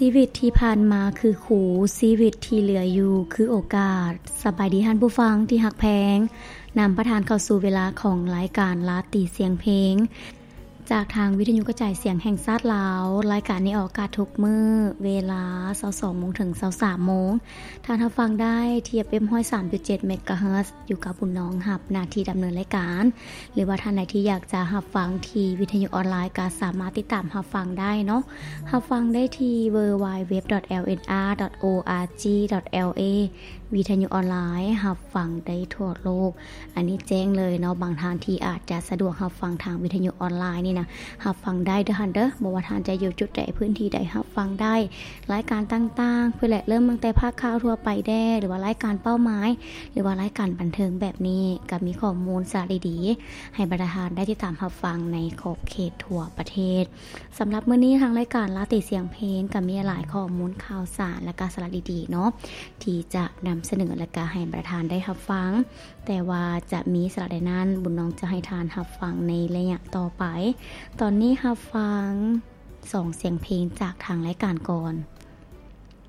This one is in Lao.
ຊີວິດທີ່ຜ່ານມາຄືຄູ, ຊີວິດທີ່ເຫຼືອຢູ່ຄືໂອກາດ. ສະບາຍດີທ່ານຜູ້ຟັງທີ່ຮັກແພງ, ນຳປະທານເຂົ້າສູ່ເວລາຂອງລາຍການລາຕີສຽງເພງ ຈາກທາງວິທະຍຸກະຈາຍສຽງແຫ່ງຊາດລາວ. ລາຍການນີ້ອອກອາກາດທຸກມື້ເວລາຊາວສອງໂມງເຖິງຊາວສາມໂມງ. ທ່ານຮັບຟັງໄດ້ທີ່ ເອັຟເອັມ ຮ້ອຍສາມຈຸດເຈັດ ເມກາເຮີດ ຢູ່ກັບບຸນນອງຮັບໜ້າທີ່ດຳເນີນລາຍການ ຫຼືວ່າທ່ານໃດທີ່ຢາກຈະຮັບຟັງທີ່ວິທະຍຸອອນລາຍ ກໍສາມາດຕິດຕາມຮັບຟັງໄດ້ເນາະ. ຮັບຟັງໄດ້ທີ່ ดับเบิลยู ดับเบิลยู ดับเบิลยู ดอท แอล เอ็น อาร์ ดอท โอ อาร์ จี ดอท แอล เอ ວິທະຍຸອອນລາຍ ຮັບຟັງໄດ້ທົ່ວໂລກ. ອັນນີ້ແຈ້ງເລີຍເນາະ, ບາງທ່ານທີ່ອາດຈະສະດວກຮັບຟັງທາງວິທະຍຸອອນລາຍນີ້ນະ, ຮັບຟັງໄດ້ເດີທ່ານເດີ, ບໍ່ວ່າທ່ານຈະຢູ່ຈຸດໃດ, ພື້ນທີ່ໃດ, ຮັບຟັງໄດ້. ລາຍການຕ່າງໆ ພຸ້ນແຫຼະ, ເລີ່ມຕັ້ງແຕ່ພາກຂ່າວທົ່ວໄປແດ່ ຫຼືວ່າລາຍການເປົ້າໝາຍ ຫຼືວ່າລາຍການບັນເທີງແບບນີ້, ກໍມີຂໍ້ມູນສາລະດີໆ ໃຫ້ບັນດາທ່ານໄດ້ຕິດຕາມຮັບຟັງໃນຂອບເຂດທົ່ວປະເທດ. ສຳລັບມື້ນີ້ ທາງລາຍການລາຕີສຽງເພງ ກໍມີຫຼາຍຂໍ້ມູນຂ່າວສານ ແລະກະສາລະດີໆເນາະ ທີ່ຈະນຳສະເໜີ ແລະກະໃຫ້ບັນດາທ່ານໄດ້ຮັບຟັງ. ແຕ່ວ່າຈະມີສາລະໃດນັ້ນ, ບຸນນອງຈະໃຫ້ທ່ານຮັບຟັງໃນໄລຍະຕໍ່ໄປ. ຕອນນີ້ຮັບຟັງສອງສຽງເພງຈາກທາງລາຍການກ່ອນ.